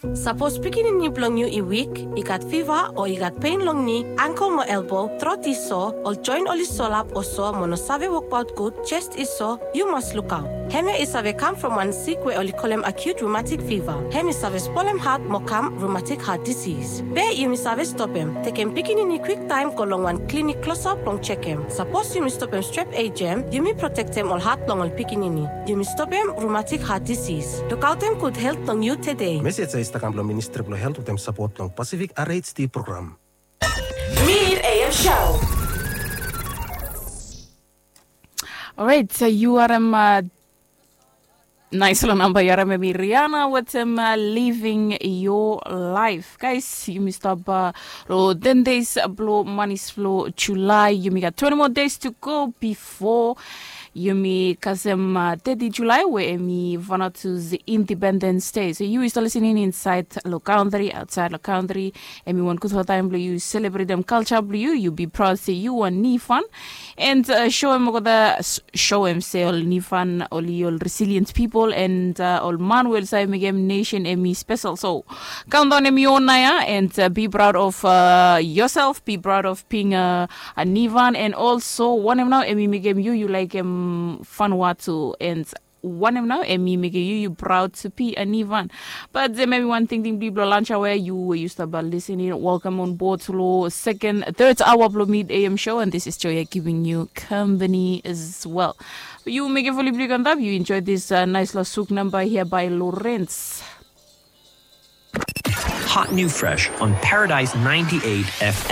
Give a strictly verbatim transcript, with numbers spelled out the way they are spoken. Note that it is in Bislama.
Sapos pikinini blong yu i wik, i gat fiva o i gat pen long ni, angkel mo elbo, trot i so, ol joen oli solap o so mo no save wokbaot gud, jes i so, yu mas lukaot. Hemia i save kam from wan sik we oli kolem acute rheumatic fever. Hem i save spolem hat mo kam rheumatic heart disease. Be yumi save stopem, tekem pikinini kwiktaem go long wan klinik klosap blong jekem. Sapos yumi stopem strep ejem, yumi protektem ol hat blong ol pikinini. Yumi stopem rheumatic heart disease. Lukaotem gud helt blong yu tede. Mesej ya i stap kam blong Ministri blong Helt wetem sapot blong Pacific R H D program. Mid A M Show. Orait, yu harim nais long namba, yu harim hemi Rihanna wetem Living Your Life. Guys, yumi stap long ten days blong manis blong July. Yumi gat twenty more days to go before yumi kasem thirty July we hemi Vanuatu's Independence Day. So yu i stap lisening insaed long kantri, aotsaed long kantri, hemi wan gudfala taem blong yu selebretem kalja blong yu. Yu bi praod se yu wan Nifan. And soem olgeta, soem se ol Nifan oli ol resilient pipol, and ol man we oli save mekem nesen hemi spesel. So kaondaon hemi on naoia, and be proud of yoself, be proud of being a Nifan, and also wanem nao hemi mekem yu yu laekem Vanuatu, and wanem nao hemi mekem yu yu proud to be a Nifan. But hemi wan tingting blong yu blong lanja we yu we yu stap lisening, welcome on board long second, third hour blong Mid A M Show, and this is Joya giving you company as well. Yu mekem fuli blong yu go antap, yu enjoy this nais long suk namba here by Lawrence. Hot new fresh on Paradise ninety-eight F M.